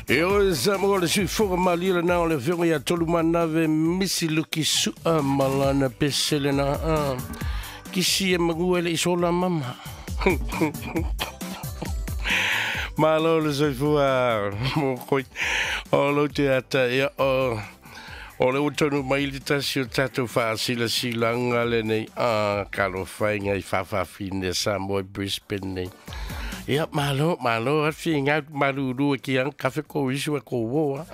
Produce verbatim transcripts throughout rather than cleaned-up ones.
E o sa mo le suifoga malila na o le fionga ia tolu manave misi luki sua malana pesele na a kisi e magua le isola mama. Malo le soifua mo koi o lo te ata ia o o le utonu mai le tasi o tatou faasilasilanga lenei a kalofainga i faafafine Samoa Brisbane nei. Ia malo malo afi ngā maruru ki ang kafe ko isu e ko woa.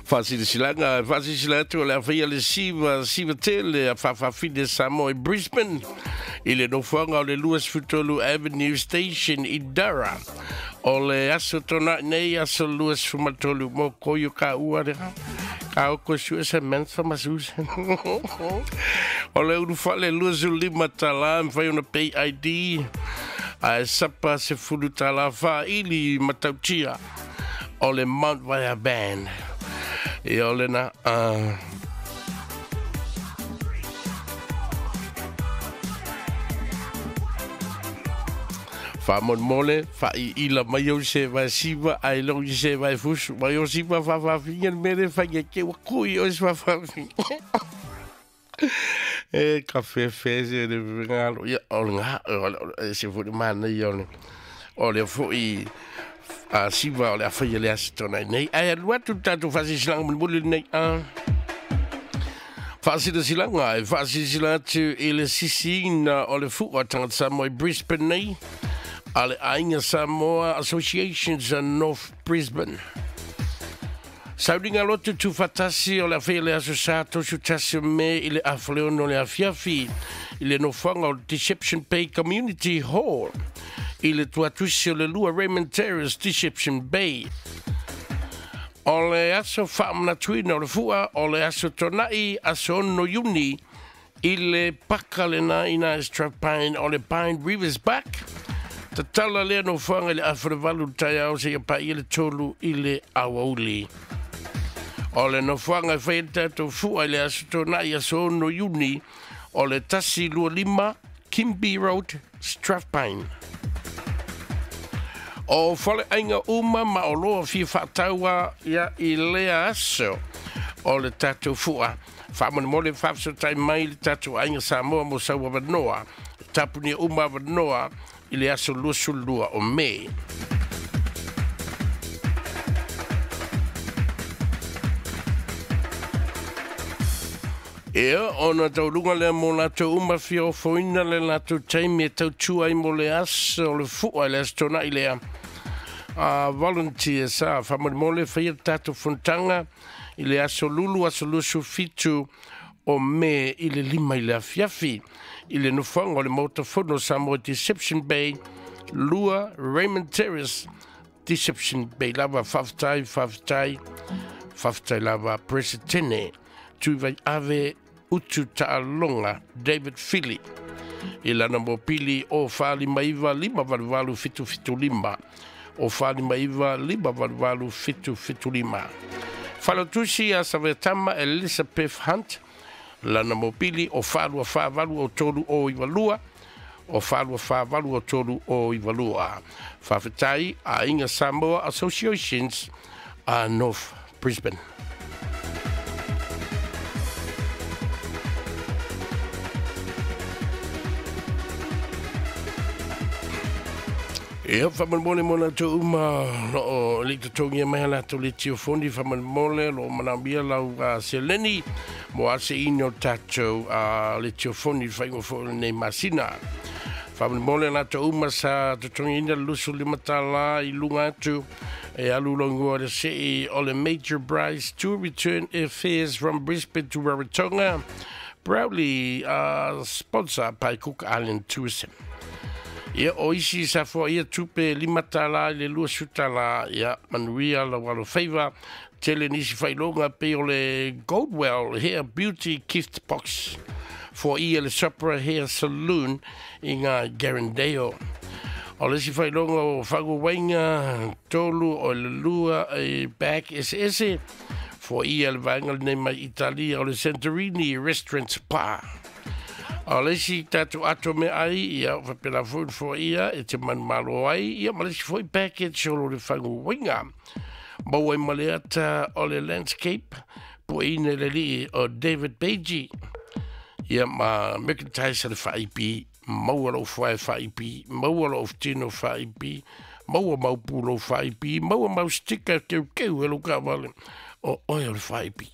Faasilasilanga faasilasila atu o le awhaia le siva siva tele a faafafine Samoa Brisbane i le nofoaga o le Louis Avenue Station i Dara. O le aso tona nei aso Louis Fumatolu mo koyo ka ua reha. Ka oko sua Samantha Masusa. O le uru whale Louis lima tala mwhai ona pay I D. A e sapa se fulu tala wha ili matautia. O le Mount Vaea Band. I o le na... Uh, Wha wha i ila mai au se vai siva, ai longi se vai fusu, mai o siva wha wha finga mere whange ke wa kui o se wha wha finga. E ka whe se le ngalo, ia o le ngā, o se furi mana i o le, o le fui a siva o le awhaia le asitona nei. Ai alu atu tātou whasisilanga mulmuli nei. Whasisilanga, e whasisilanga atu i le sisina o le fua tangata Samoa Brisbane nei. Ale Ainga Samoa Associations North Brisbane. Sauringa lotu tu fatasi o le awhea le aso sa tosu tasi me i le awhaleono le awhiawhi i le nofoaga o Deception Bay Community Hall i le tuatusi o le lua Raymond Terrace Deception Bay. O le aso whaamanatuina o le fua o le aso tonai aso ono Iuni i le paka le na ina Strathpine o le Pine Rivers Back. Tatala lea no whanga i le awharewalu tai au se ia pa i le tolu i le awauli. O le no whanga i whaia tātou fua i le aso tōnai aso ono Iuni o le tasi lua lima Kimby Road, Strathpine. O whale ainga uma ma o loa fia whaataua ia i lea aso o le tātou fua. Whaamone mole whaafsotai mai le tātou ainga Samoa mo saua wanoa. Tapunia uma wanoa i le aso luasulua o Mei. Ea, ona taulunga lea mo lātou uma fia ofoina le lātou taimi e tautua i mo le aso o le fua i le aso tōna i lea. A volunteer sa, whamani mo le whaia tātou fontanga i le aso lulu, aso lusu fitu o me i le lima i le afiafi. I le nofoaga o le Maota Samoa Deception Bay, Lua Raymond Terrace, Deception Bay. Lava whaftai, whaftai, whaftai lava Presidente, Tuivai Ave Utu Ta'alonga, David Philly. I lana mopili o whaali maiva lima valuvalu fitu fitu lima. O whaali maiva lima valuvalu fitu fitu lima. Whalotusi a Savetama Elizabeth Hunt, lana mopili o whaalua whaavalu o tolu o iwalua, o whaalua whaavalu o tolu o iwalua. Whawhetai a Inga Samoa Associations a North Brisbane. Ia, whamanmole mo lātou uma lo o le totongia mai lātou le tiofoni, whamanmole lo manambia lau uh, seleni mo ase ino tātou uh, le tiofoni whaingo fo nei masina. Whamanmole lātou uma sa totongia ina lusu limatala i lunga atu e alu longoa le sei o le Major Bryce to return affairs from Brisbane to Rarotonga, proudly uh, sponsored by Cook Island Tourism. Ia o isi sa fua ia tupe limatala i le lua sutala ia manuia la walo feiva tele nisi whailonga pe o le Goldwell Hair Beauty Gift Box for ia le Sopra Hair Saloon i ngā Garandeo. O le si whailonga o whangu wainga tolu o le lua e back S S for ia le vaenga nei mai Italia o le Santorini Restaurant Spa. A o le isi tatou ato meaai, ia faapena foi ona foaia e te manumalo ai, ia ma le isi foi package o lo le faguina. Maua ai ma le ata o le landscape, pueina le alii o David Pagey, ia ma merchandise a le F A I P. Maua lou fuae F A I P, maua lou tino F A I P, maua mau pulo F A I P, maua mau sticker keukeu e lou kaavale o oe o le F A I P.